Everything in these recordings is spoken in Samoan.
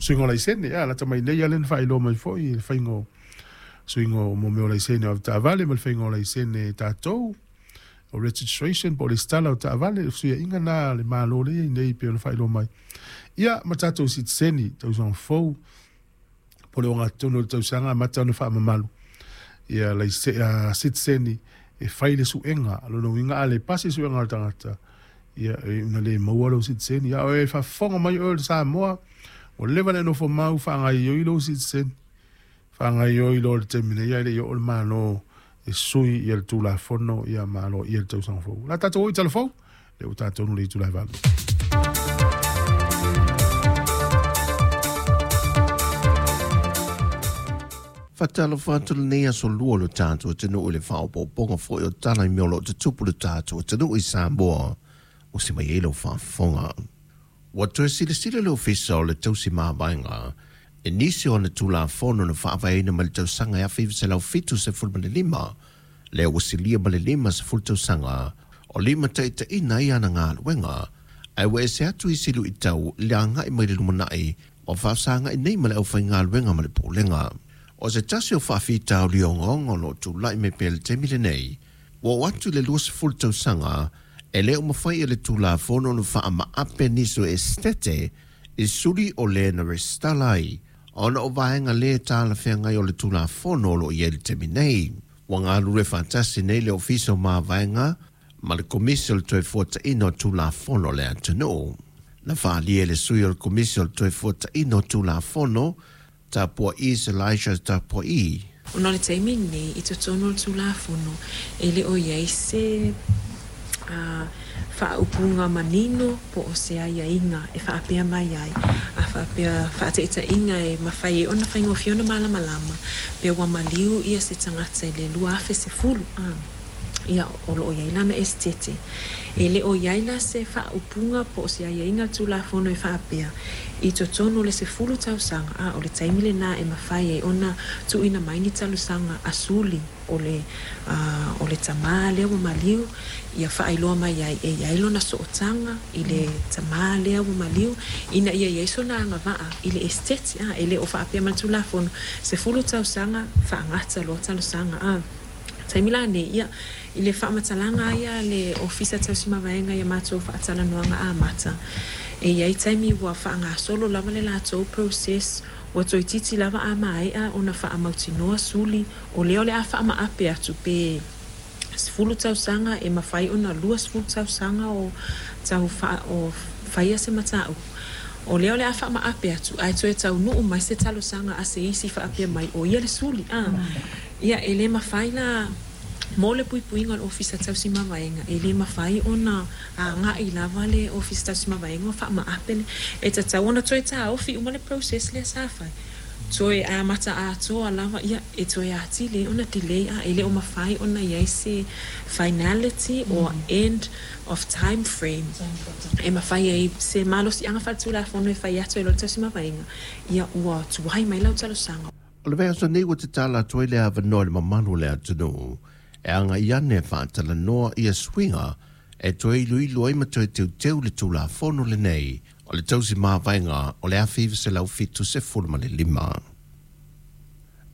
Suiga o laisene, ia, lata mai nei lava lea na faailoa mai foi i le faiga o suiga o mo mea o laisene o avetaavale ma le faiga o laisene tatou, o registration po o lesitala o taavale, le fesuiaiga lena a le Malo lea e i ai nei e pei ona faailoa mai. Ia, ma tatou sitiseni, tausaga fou, po o le ogatotonu o le tausaga amata ona faamamalu ia laise, sitiseni e fai le suega. O lona uiga a le pasi le suega a le tagata, ia e ona le maua lou sitiseni. A o e faafofoga mai oe o le Samoa, ua leva ona e nofo mau faagaoioi lou sitiseni. Faagaoioi loa i le taimi nei ae le i oo le Malo e sui ia le Tulafono ia ma aloaia le tausaga fou. O le a tatou o i tala fou, lea ua tatou i le itula e 8. Faatalofa atu lenei aso lua o le tatou atunuu i le faaopoopoga foi o tala i mea o lo o tutupu i le tatou atunuu i Samoa ua se mai ai lau faafofoga. Ua toe silasila le Ofisa o le Tausi Mavaega i nisi o ana Tulafono na faavaeina mai le tausaga e 1975, lea ua silia ma le 50 tausaga o limataitaiina ai ana galuega, ae ua ese atu isi luitau i le agai mai le lumanai ua faafesagai nei ma le aufaigaluega ma le Pulega. O se tasi o faafitauli ogaoga o lo o tulai mai pea i le taimi lenei, ua oo atu i le 20 tausaga e le o mafai e le Tulafono ona faamaape nisi o esetete i suli o le na resitala ai ona o vaega le talafeagai o le Tulafono o lo o i ai i le taimi nei. Ua galulue faatasi nei le Ofisa o Mavaega ma le Komisi o le Toefuataiga o Tulafono a le atunuu. Na faaalia e le sui o le Komisi o le Toefuataiga o Tulafono, Tapua'i Elijah Tapua'i. Ona o le taimi lenei i totonu o le Tulafono e le o i ai se faaupuga manino po o se aiaiga e faapea mai ai, a faapea faataitaiga e mafai ai ona faigofie ona malamalama pe ua maliu ia se tagata i le 2010, ia o lo o i ai lana esetete. E le o i ai la se faaupuga po o se aiaiga a le Tulafono e faapea, i totonu o le 10 tausaga, a o le taimi lena e mafai ai ona tuuina mai ni talosaga a suli o le, o le tamā lea ua maliu, ia faailoa mai ai e i ai lona sootaga i le tamā lea ua maliu, ina ia i ai sona agavaa i le esetete, a e le o faapea mai le Tulafono, 10 tausaga faagata loa talosaga, a. Taimi la nei, ia, i le faamatalaga lava ia a le Ofisa Tausi Mavaega i a matou faatalanoaga amata, e i ai taimi ua faagasolo lava le latou process, ua toeitiiti lava a maea ona faamautinoa suli, o lea o le a faamaape atu pe 10 tausaga, e mafai ona 20 tausaga o tau o faia se mataupu. O lea o le a faamaape atu, ae toe taunuu mai se talosaga a se isi faapea mai, o ia le suli, a. Ia, e le mafai la, mo le puipuiga o le Ofisa Tausi Mavaega, e le mafai ona agai lava le Ofisa Tausi Mavaega ma faamaape le, e tatau ona toe taofi uma le process lea sa fai, toe amata atoa lava, ia, e toe atili ai ona delay, a e le o mafai ona i ai se finality or end of time frame e mafai ai se malosiaga faaletulafono e fai atu ai loa le Tausi Mavaega, ia, ua tuai mai lau talosaga. O le vaiaso nei ua tatala atu ai le avanoa i le mamalu o le atunuu e agai ane e faatalanoa ia suiga e toe iloilo ai ma toe teuteu le Tulafono lenei o le Tausi Mavaega o le 1975.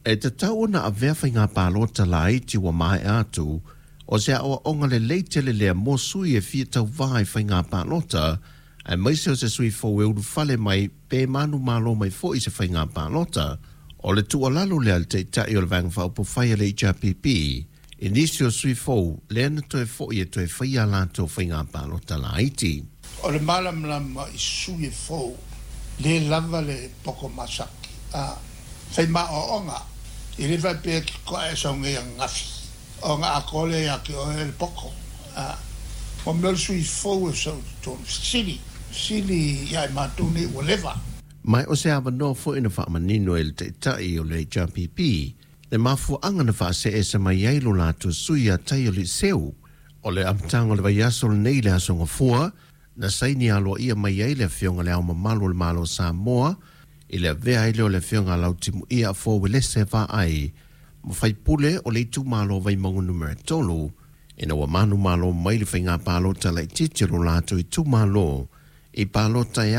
E tatau ona avea faiga palota laiti ua maea atu o se aoaoga lelei tele lea mo sui e fia tauvā i faiga palota, aemaise o se sui fou e ulufale mai pe manumalo mai foi i se faiga palota. O le tuualalo lea a le Taitai o le Vaega Faaupufai a le HRPP i nisi o sui fou lea na toe foi e toe faia a latou faiga palota laiti. O le malamalama i sui e fou le lava le poko masaki a fai maoaoga i le faapea ki koa e sau nei ananafi ona atoa lea ia te oe le poko a mo mea o le sui fou e sau i totonu fesili fesili ia i matou nei ua leva. Ma o se avanoa foi na faamanino e le Taitai o le HRPP le mafuaaga na faaseese mai ai lo latou sui ia Taia Liseu. O le amataga o le vaiaso lenei i le Aso Gafua, na saini aloaia mai ai le Afioga i Le Ao Mamalu o le Malo o Samoa i le avea ai lea o le Afioga a Lautimuia Afoa Uelese Vaai ma faipule o le itumalo o Vaimauga Numera 3, ina ua manumalo mai le faiga palota laitiiti o lo latou itumalo i palota e